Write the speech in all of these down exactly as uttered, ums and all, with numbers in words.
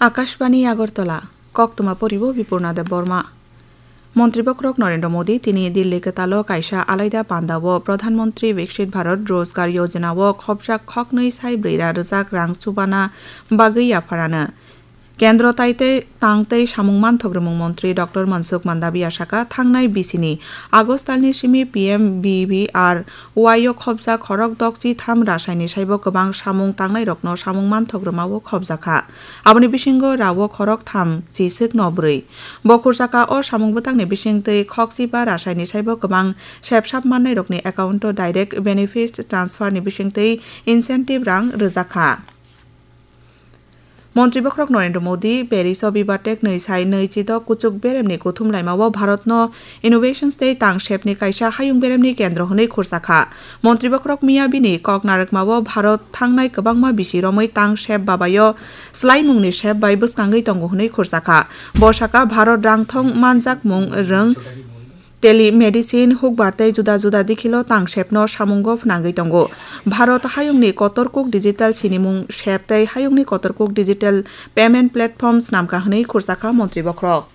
Akashbani Agartala, koktwma poribo Bipurna Debbarma. Montri bokhorok Narendra Modi tini Delhi kwtalo kaisa alaida pandao Pradhan Mantri Viksit Bharat Rozgar Yojana o khopjak khoknwi sai brwi ra rwjak rang chubana bagwi yapharano. Kendro tai tei tang tei samung manthok rwmung montri Doctor Mansukh Mandaviya saka, thangnai bisini August talni simi P M B B R Y o khopjak khorok dokchi tham rasaini saibo kwbang samung tangnairokno samung manthok rwmao khopjakha. Aboni bisingo rao khorok tham chiswk no bwrwi. Bo khursaka o samung bwtangni bisingtwi khokchiba rasaini saibo kwbang sepsap mannairokni account o direct benefit transfer ni bisingtwi incentive rang rwjakha. Montri bokhorok Narendra Modi Paris o Bibatek nwi sai nwi chidok kuchuk beremni kuthum laimao Bharatno innovations tei tang sepni kaisa hayung beremni kendro hwnwi khursakha. Montri bokhorok miya bini kok narwkmao Bharat thangnai kwbangma bisi romwi tang sep babaio swlaimungni sep bai bwskangwi tongo hwnwi khursakha. Bo saka Bharat rangthong manjakmung rwng telemedicine, hukbar tei juda juda dikhilo tang sepno samungo phnangwi tongo. Bharat hayungni kotor kuk digital sinimung sep tei hayungni kotor kuk digital payment platform snamkha hwnwi khursakha montri bokhorok.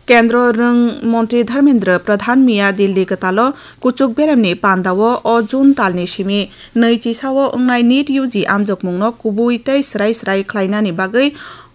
Kendro rwng montri Dharmendra Pradhan miya Delhi kwtalo kuchuk beremni pandao o June talni simi nwi chisao wngnai NEET U G amjokmungno kubui tei swrai swrai khlainani bagwi